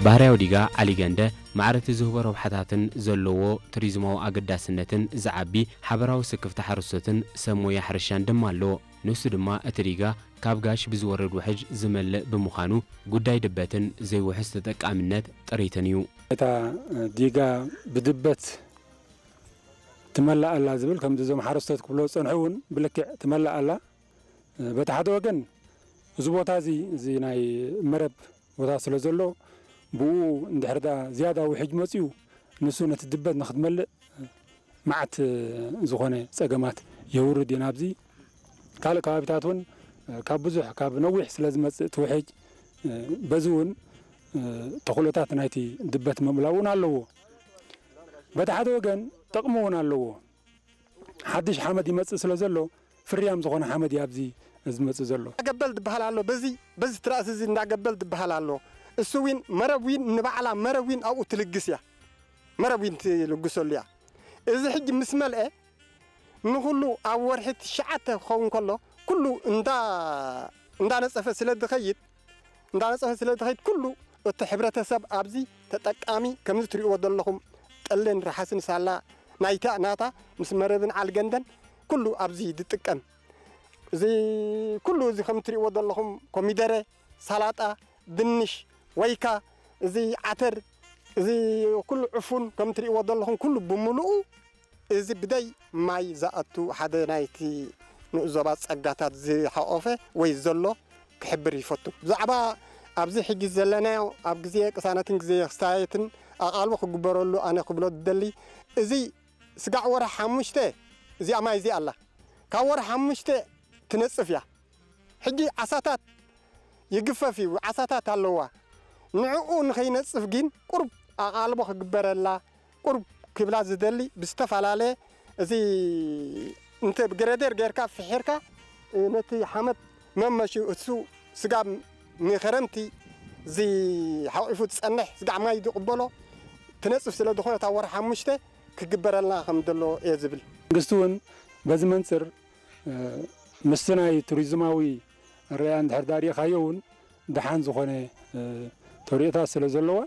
ባህርያዊ ዲጋ ዓሊገንደ ማዕረቲ ዝህቦ ረብሓታትን ዘለዎ ቱሪዝማዊ ኣገዳስነትን ዝዓቢ ሓበራዊ ስክፍታ ሓረስቶትን ሰብ ሞያ ሕርሻን ድማ ኣለዎ። ንሱ ድማ እቲ ዲጋ ካብ ጋሽ ብዝወርድ ውሕጅ ዝመልእ ብምዃኑ ጉዳይ ድበትን ዘይውሑስ ተጠቃሚነት ጥሪትን እዩ። እታ ዲጋ ብድበት ትመላእ ኣላ ዝብል ከምዚ እዞም ሓረስቶት ክብሎ ዝጸንሑ እውን ብልክዕ ትመላእ ኣላ። በቲ ሓደ ወገን እዚ ቦታ እዚ እዚ ናይ መረብ ቦታ ስለ ዘሎ ብኡ እንድሕር ዳ ዝያዳ ውሕጅ መፅዩ ንሱ ነቲ ድበት ንክትመልእ መዓት ዝኾነ ፀገማት የውርድ እዩ ናብዚ። ካልእ ከባቢታት እውን ካብ ብዙሕ ካብ ነዊሕ ስለ ዝመፅእ እቲ ውሕጅ በዚ እውን ተኽእሎታት ናይቲ ድበት ምምላእ እውን ኣለዎ። በቲ ሓደ ወገን ጥቕሚ እውን ኣለዎ። ሓድሽ ሓመድ ይመፅእ ስለ ዘሎ ፍርያም ዝኾነ ሓመድ እዩ ኣብዚ ዝመፅእ ዘሎ። ገበል ዝበሃል ኣሎ። በዚ በዚ ትራእሲ እዚ እንዳገበል ዝበሃል ኣሎ። እሱ ዊን መረብ ዊን ንባዕላ መረብ ዊን ኣብኡ ትልግስ እያ። መረብ ዊን ትልግሰሉ እያ። እዚ ሕጂ ምስ መልአ ንኹሉ ኣብ ወርሒ ትሽዓተ ክኸውን ከሎ ኩሉ እንዳ እንዳነፀፈ ስለ ዝኸይድ እንዳነፀፈ ስለ ዝኸይድ ኩሉ እቲ ሕብረተሰብ ኣብዚ ተጠቃሚ ከምዚ ትሪእዎ ዘለኹም ጠለን ረሓስን ሳላ ናይታ ናታ ምስ መረብን ዓልገንደን ኩሉ ኣብዚ ዝጥቀም እዚ ኩሉ እዚ ከም ትሪእዎ ዘለኹም ኮሚደረ፣ ሳላጣ፣ ድንሽ፣ ወይካ እዚ ዓተር እዚ ኩሉ ዕፉን ከም ትሪእዎ ዘለኹም ኩሉ ብምሉኡ እዚ ብደይ ማይ ዝኣቱ ሓደ ናይቲ ንኡስ ዞባ ጸጋታት ዝሓቖፈ ወይ ዘሎ ክሕብር ይፈቱ። ብዛዕባ ኣብዚ ሕጂ ዘለናዮ ኣብ ግዜ ቅሳነትን ግዜ ክስታየትን ኣቓልቦ ክግበረሉ ኣነ ክብሎ ዝደሊ እዚ ስጋዕ ወርሒ ሓሙሽተ እዚኣ ማይ እዚኣ ኣላ ካብ ወርሒ ሓሙሽተ ትነጽፍ እያ። ሕጂ ዓሳታት ይግፈፍ እዩ፣ ዓሳታት ኣለዋ። ንዕኡ ንኸይነጽፍ ግን ቁሩብ ኣቓልቦ ክግበረላ፣ ቁሩብ ክብላ ዝደሊ ብዝተፈላለየ እዚ እንተ ብግሬደር ጌርካ ፍሒርካ ነቲ ሓመድ መመሽኡ እሱ ስጋብ ንኸረምቲ እዚ ሓቂፉ ዝጸንሕ ስጋዕ ማይ ዝቕበሎ ትነጽፍ ስለ ዝኾነ እታ ወርሒ ሓሙሽተ ክግበረልና ከም ዘሎ እየ ዝብል። መንግስቲ እውን በዚ መንፅር ምስቲ ናይ ቱሪዝማዊ ኣረኣእያ እንድሕር ዳሪእኻዮ እውን ደሓን ዝኾነ ተሪኦታት ስለ ዘለዋ